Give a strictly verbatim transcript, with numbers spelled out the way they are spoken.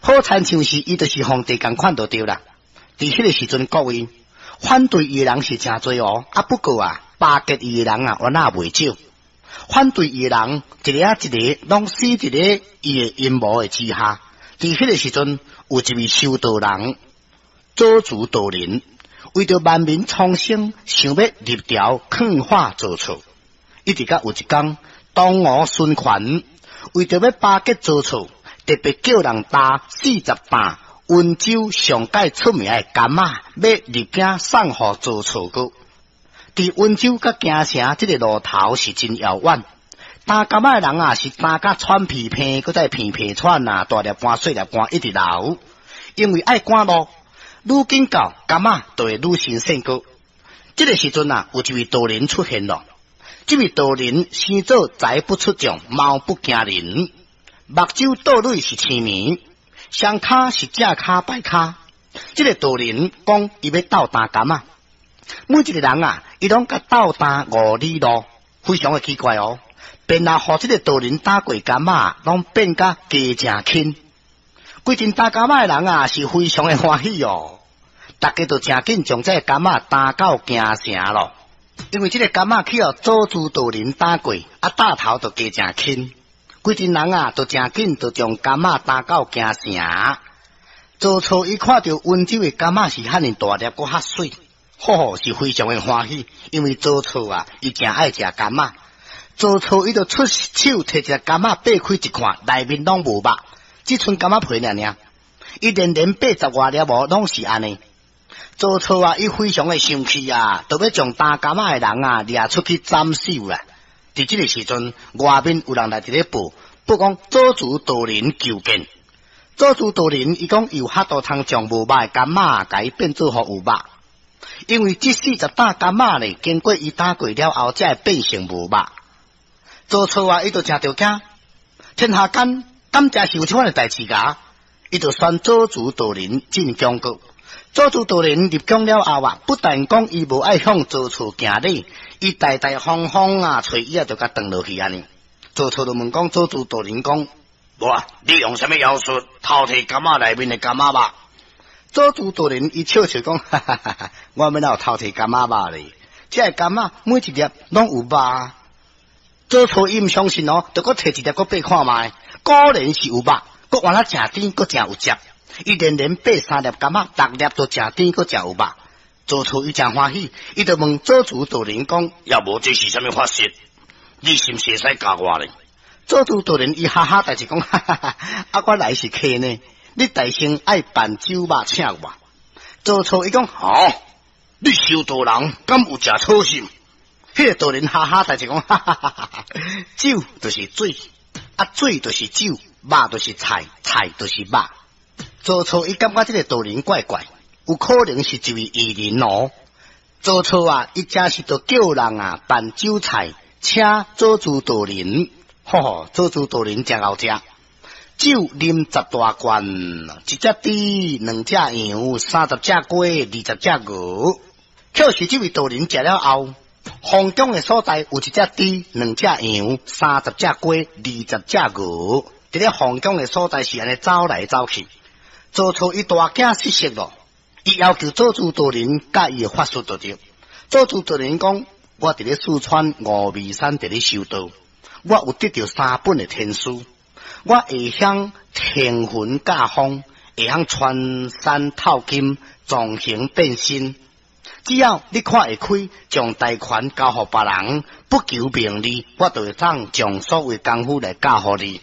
好親像是伊就是皇帝仝款就對啦。佇彼個時陣，各位反對伊的人是誠濟哦，啊不過啊，巴結伊的人啊，原來袂少。反對伊的人，一个仔一个攏死佇咧伊的陰謀的之下。佇彼個時陣，有一位修道人，祖慈道人，為著萬民蒼生，想欲入朝勸化曹操。一直到有一工，東吳孫權為著欲巴結曹操，特別叫人擔四十擔溫州上蓋出名的柑仔，欲入京送予曹操閣。佇溫州佮京城這个路頭是真遙遠，擔柑仔的人啊，是擔甲喘鼻鼻，閣再鼻鼻喘啊，大粒汗細粒汗一直流，因為愛趕路，愈緊到柑仔就會愈新鮮閣。這个時陣啊，有一位道人出現咯。這位道人生做才不出眾，貌不驚人，目睭倒淚是青眉，雙跤是正跤歹跤。這个道人講，伊欲鬥擔柑仔，每一个人啊，伊攏共鬥擔五里路，非常的奇怪哦。便若予這个道人擔過柑仔，攏變甲加誠輕。規陣擔柑仔的人啊，是非常的歡喜哦。大家都誠緊將這个柑仔擔到京城咯。因為這个柑仔去予祖慈道人擔過，啊擔頭就加誠輕。規陣人啊，都誠緊，就將柑仔擔到京城。曹操伊看著溫州的柑仔是遐爾大粒，閣較媠，吼吼是非常的歡喜。因為曹操啊，伊誠愛食柑仔。曹操伊就出手提一个柑仔，擘開一看，內面攏無肉，只賰柑仔皮爾爾。伊連連八十外粒無，攏是按呢。曹操啊，伊非常的生氣啊，就欲將擔柑仔的人啊掠出去斬首啦。佇這个時陣，外面有人來佇咧報，報講祖慈道人求見。祖慈道人伊講伊有法度通將無肉的柑仔，共伊變做予有肉。因為這四十擔柑仔咧，經過伊擔過了後，才會變成無肉。曹操啊，伊就誠著驚，天下間敢真是有這款的代誌㗎？伊就宣祖慈道人進宮閣。祖慈道人入宮了後啊，不但講伊無愛向曹操行禮，伊大大方方啊，揣椅仔就共轉落去按呢。曹操就問講祖慈道人講，無啊，你用啥物妖術偷提柑仔內面的柑仔肉？祖慈道人伊笑笑講，哈哈哈哈，我欲哪有偷提柑仔肉咧？這个柑仔每一粒攏有肉。曹操伊毋相信哦，就閣提一粒閣擘看覓，果然是有肉，閣原來誠甜，閣誠有汁。伊連連擘三粒柑仔，逐粒都誠甜，閣誠有肉。曹操伊誠歡喜，伊就問祖慈道人講：抑無這是啥物法術？你是毋是會使教我咧？祖慈道人伊哈哈大笑講：哈哈哈！啊，我來是客呢，你代先愛辦酒肉請我。曹操伊講：好，你修道人敢有食草心？彼个道人哈哈大笑講：哈哈哈哈！酒就是水，啊水就是酒，肉就是菜，菜就是肉。曹操伊感覺這个道人怪怪，有可能是一位異人哦。曹操啊，伊真是就叫人啊辦酒菜，請祖慈道人。吼吼，祖慈道人誠𠢕食，酒啉十大罐，一隻豬，兩隻羊，三十隻雞，二十隻鵝。可是這位道人食了後，皇宮的所在有一隻豬，兩隻羊，三十隻雞，二十隻鵝。佇咧皇宮的所在是按呢走來走去。曹操伊大驚失色咯，伊要求祖慈道人教伊的法術就對。祖慈道人講：我佇咧四川峨眉山佇咧修道，我有得著三本的天書，我會曉騰雲駕風，會曉穿山透金，藏形變身。只要你看會開，將大權交予別人，不求名利，我就會當將所有功夫來教予你。